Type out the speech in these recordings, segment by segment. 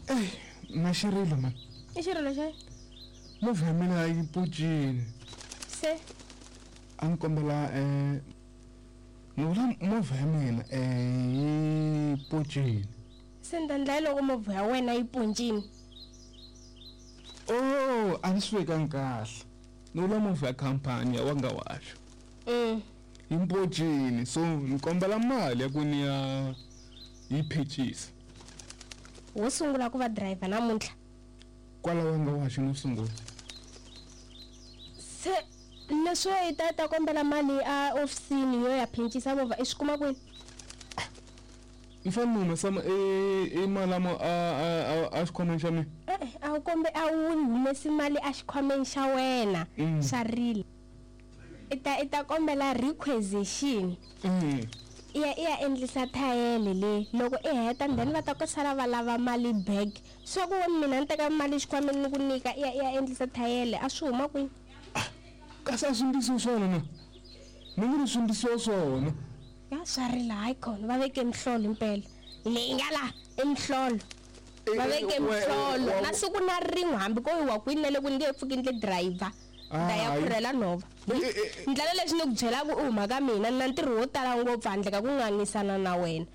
Ey, na xirilo man. I xirilo xa Movha ya mina yi pocini. Se A ni kombela ni vula movha ya mina yi pocini. Se ni ta ndla yini loko movha ya wena yi poncini? Oh, a ni swi vekangi kahle. Ni vula movha ya khampani ya wanga washo. Yi mpocini so ni kombela mali ya ku ni ya yi phecisa. Wo sungula ku va driver namuntlha. Kwala wanga washo no sungula. Se leswo i ta ta kombela mali a ofisini yo ya phencisa movha i swi kuma kwini? Ni fanele ni humesa i mali a a xikhwameni xa mina. E-e, a wu kombe a wu humesi mali a xikhwameni xa wena xa rila. I ta i ta kombela requisition. I ya i ya endlisa thayele le loko i heta and then va ta ku sala va lava mali back. Swa ku mina ni teka mali xikhwameni ni ku nyika i ya i ya endlisa thayele a swi huma kwini? Kasi a swi ndlisiwi swona na? Ni nge ri swi ndlisiwa swona. Ya swa rila hayi khona va veke mihlolo impela. Leyi nga la i mihlolo. Va veke mihlolo na siku na rin'we hambi ko yiwa kwini na le kwini nge pfuki ndle driver. Ta ya khurhela nhova. Ndlela leswi ni ku byelaka u huma ka mina ni na ntirho wo tala ngopfu handle ka ku ngangisana na wena.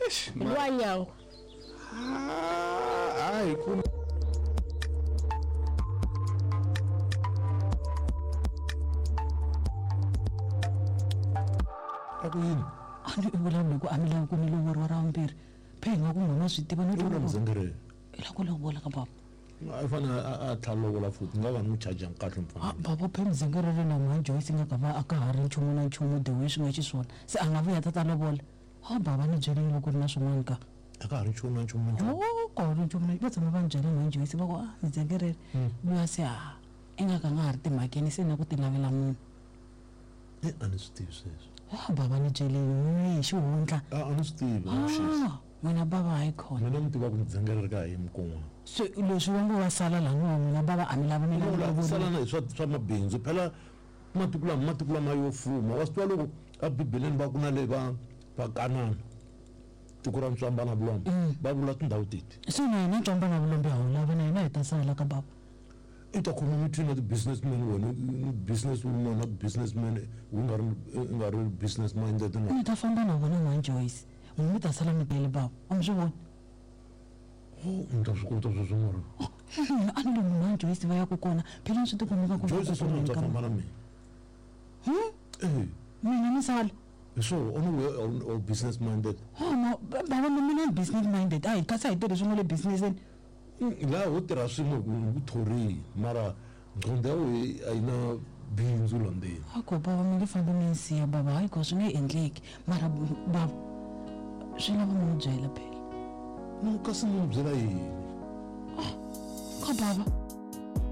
Hi luwa nyangwa. Hayi ku A ku yini? A ni i vulavula ku a mi lavi ku ni lovoriwa ra vumbirhi. Phe hi nga ku n'wina swi tiva no I vula muzengere. I la ku lovola ka baba. A fanele a tlhela lovola futhi nga va ni n'wi charge kahle mfana. Baba phe muzengere ri na mhani Joyce nga ka va a ka ha ri nchumu na nchumu the way swi nga xiswona. Se a nga vuya ta ta lovola. Ha baba ni byeleni loko ku ri na swin'wana ka. A ka ha ri nchumu na nchumu na nchumu. Oh, ka ha ri nchumu na va tshama va ni byela mhani Joyce va ku a muzengere luya se ha i nga ka nga ha ri timhakeni se na ku ti lavela munhu. E a ni swi tivi sweswo. Ha baba ni byeleni n'we hi xihundla. A ni swi tivi na xisi. N'wina baba hayi khona. Mina ni tiva ku muzengere ri ka ha yimi kun'wana. Se leswi va ngo va sala laniwa n'wina baba a mi lavi mi lava ku sala na hi swa swa mabindzu phela matiko lama matiko lama yo fuma wa swi tiva loko a bibeleni va ku na le va va kanana tiko ra ntswamba na vulombe va vula tindhawu teti. Se na hina ntswamba na vulombe ha wu lava na hina hi ta sala ka baba. I ta khoma mitini na ti-businessman wena business woman na businessman u nga ri u nga ri business minded na. Ni ta famba na vona mhani Joyce n'wina mi ta sala mi tele baba a mi swi voni. Oh ni ta swi kota sweswo mara. Mina a ni lomu mhani Joyce va yaka kona phela ni swi tikomba nga ku Joyce swi ta famba na mina. Eh. Mina ni sala. Hi swona u ni we business minded. Oh no baba mina ni business minded a hi kasi a hi tirhi swin'we le businesseni. Laha ho tirha swin'we hi ku thorile mara nqondo ya wehe a yi na bindzu la ndzeni. Hayi ko bava mi nge fambi mi ni siya bava hayi ko swi nge endleki mara bava swi lava mi n'wi byela phela. No kasi ni n'wi byela yini? Ah ka bava.